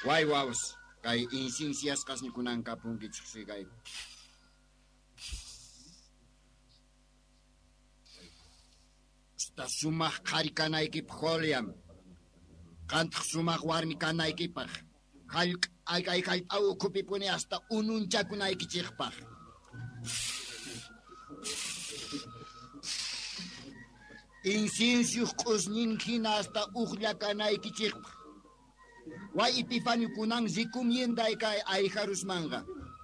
Way wawas, kay insinsiyasqasnikunan kapunkichik sigay. Hasta sumaq qhari kanaykipaq Julian. Qantaq sumaq warmi kanaykipaq. Kay hallp'a ukhupipuni hasta ununchakunaykichikpaq. Inciensioq q'usñin hina hasta uqlla kanaykichikpaq. Way Epifanio kunan recomienday kay ayjarusmanqa.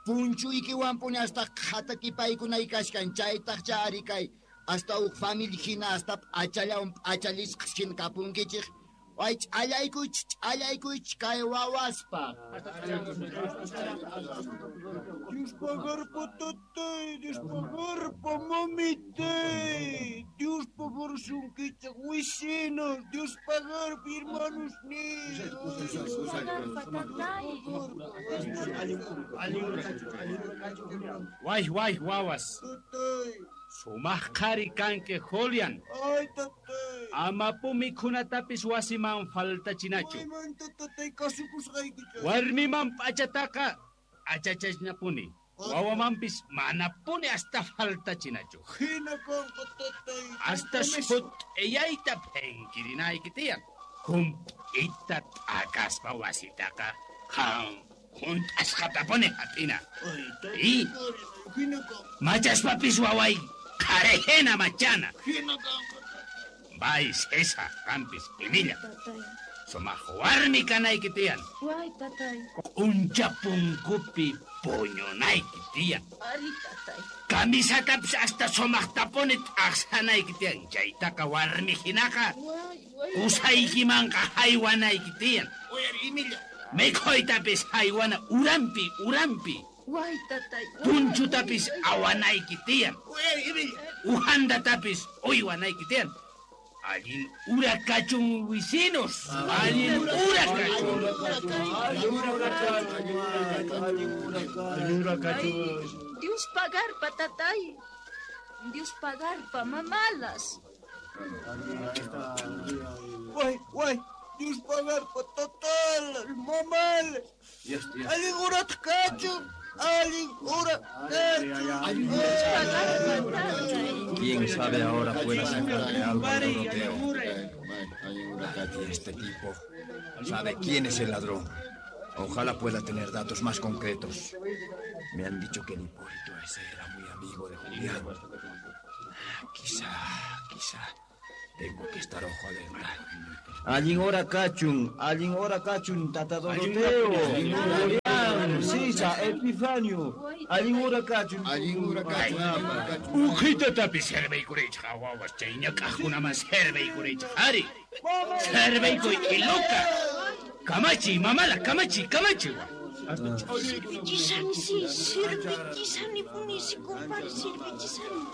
Punchuykiwanpuni hasta qhatakipaykunay kashkan chaytaq chari kay hasta uq familia hina hasta p'achallawan p'achallisqas hina kapunkichik. Way ch'allaykuychik kay wawaspaq. Dios pagarpa tatay, Dios pagarpa mamitay, Dios pagarsunkichik wisinos, Dios pagarpa hermanos ni. Way way wawas. Sumaq qhari kanki Julian. Ay tatay. Amapu mikhunatapis wasiman faltachinachu. Waymanta tatay kasukusqaykichik. Warmiman p'achataqa achachasñapuni. Wawamanpis manapuni hasta faltachinachu. Hina kanqa tatay. Hasta sut'iyayta phenkirinayki tiyan. Hump'ita t'akaspa wasitaqa qan hunt'asqatapuni hap'ina. Ay tatay. Hina kanqa. Machaspapis waway qharihina machana. Hina kanqa. Bay César, qampis Emilia. Sumaq warmi kanayki tiyan. Way tatay. Q'uncha punkupi puñunayki tiyan. Ari tatay. Camisatapis hasta sumaqtapuni t'aqsanayki tiyan. Chaytaqa warmi hinaqa qusaykimanqa haywanayki tiyan. Uyari Emilia. Mikhuytapis haywana urampi urampi. Way tatay. Punchutapis awanayki tiyan. Uyari Emilia. Ujandatapis uywanayki tiyan. Allin ura kachun vecinos. Allin ura kachun. Allin ura kachun. Dios pagarpa tatay. Dios pagarpa mamalas. Way, way. Dios pagarpa tatalas, mamalas. Allin urat kachun. Allin ura kachun. ¿Quién sabe ahora pueda sacarle algo al Doroteo? Y este tipo sabe quién es el ladrón. Ojalá pueda tener datos más concretos. Me han dicho que el Hipólito ese era muy amigo de Julián. Quizá, quizá. Tengo que estar ojo alerta. Allin hora kachun, tata Doroteo. Julián, Sisa, Epifanio. Allin hora kachun. Allin hora kachun. Ujitatapis serviykurichik wawas chay ñak'aqkunaman serviykurichik ari. Serviykuy iluka. Kamachi, mamala, kamachi, kamachi. Sirvichisani, sí, sirvichisani, punisi, compadre, sirvichisani.